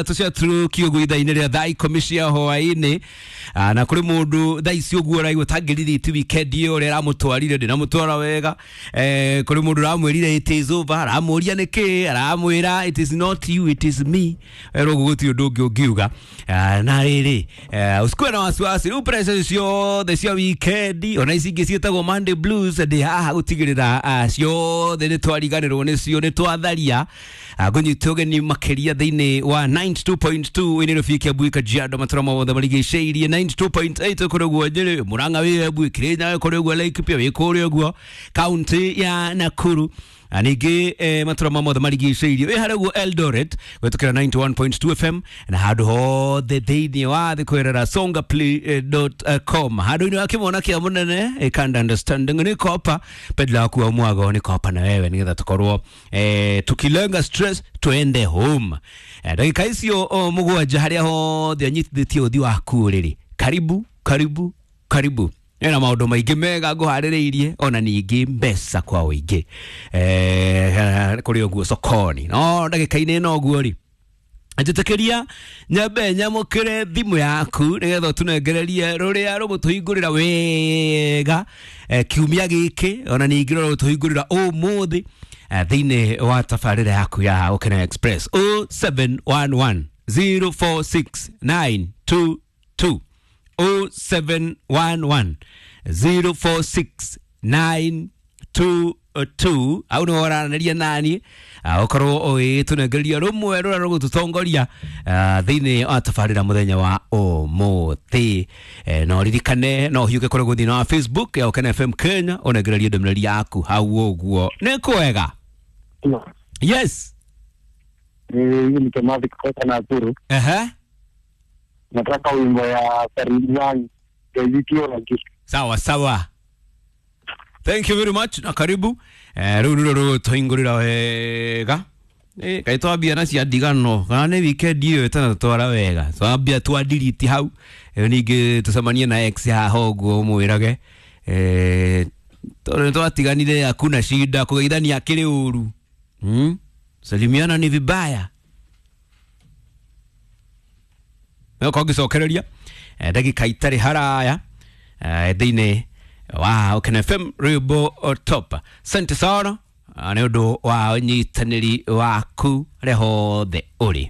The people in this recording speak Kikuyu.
Tũciatũrũkio ũguo ithaa-inĩ rĩa thaa 10 cia hwaĩ-inĩ. Na kũrĩ mũndũ thaa ici ũguo ũraigua tangĩririti weekend ĩyo ũrĩa aramũtwarire ndĩnamũtwara wega. Kũrĩ mũndũ ũramwĩrire it is over, aramũria nĩkĩ, aramwĩra it is not you, it is me. Rĩu ũguo gũtirĩ ũndũ ũngĩ ũngiuga. Na rĩrĩ, usikuwe na wasiwasi, rĩu pressure ciothe cia weekend ona ici ingĩ ciĩtagwo Monday blues, ndĩ haha gũtigĩrĩra ciothe nĩ twariganĩrwo nĩcio, nĩ twatharia. Ngũnyita ũgeni makĩria thĩinĩ wa 92.2 ĩnĩ rũbia Kiambu, Kajiado, matũra mothe marigicĩirie, 92.8 kũrĩ ũguo Nyĩrĩ, Mũrang'a, wĩ Embu, Kĩrĩnyaga kũrĩ ũguo, Laikipia wĩ kũrĩa ũguo kaunti ya Nakuru. Ningĩ matũra mothe marigicĩirie, wĩ harĩa ũguo Eldoret gwĩtũkĩra 91.2 FM, na handũ hothe thĩinĩ wa thĩ kwerera songaplay.com, handũ-inĩ wa kĩmona kĩa mũnene ikanda understanding nĩ kopa pedla waku wa mwago nĩ kopa na wewe nĩgetha tũkorwo tukilenga stress tuende home. Ndagĩka icio 7 harĩa hothe anyitithĩtie ũthi waku rĩrĩ, karibu karibu karibu, ena maũndũ maingĩ mega ngũharĩrĩirie, ona ningĩ mbeca kwa ũingĩ kũrĩ ũguo sokoni. No ndagĩka-inĩ ĩno ũguo rĩ, njĩtĩkĩria nyambe nyamũkĩre thimũ yaku nĩgetha ũtũnengererie rũrĩa rũgũtũhingũrĩra wega kiumia gĩkĩ, ona ningĩ rũrĩa rũgũtũhingũrĩra ũmũthĩ thĩinĩ wa tabarĩra yaku ya Ũkena Express, 0711 046 922, 0711 046 922. Au nĩ waranĩria nani, ũkorwo ũgĩtũnengereria rũmwe rũrĩa rũgũtũtongoria thĩinĩ wa tabarĩra mũthenya wa ũmũthĩ. No ririkane no ũhiũke kũrĩa thĩinĩ wa Facebook ya Ũkena FM Kenya ũnengererie ndũmĩrĩri yaku hau ũguo. Nĩ kwega? Yes. Hii ni Kimathi kutoka Nakuru. Nataka wimbo ya Faridwan Ezekiel. Sawa sawa. Thank you very much na karibu. Rĩu nĩruo rũgũtũhingũrĩra wega. Kaĩ twambia na cia ndigano kana nĩ weekend ĩyo ĩtanatwara wega, twambia twadiriti hau. Ningĩ tũcemanie na ex haha ũguo ũmwĩrage tondũ nĩtwatiganire, hakuna shida, kũgeithania akĩrĩ ũru, Salimiana ni vibaya. No kongĩcokereria ndagĩka itarĩ haraya thĩinĩ wa Ũkena FM rwĩmbo top. Asante sana nĩ ũndũ wa ũnyitanĩri waku harĩa hothe ũrĩ.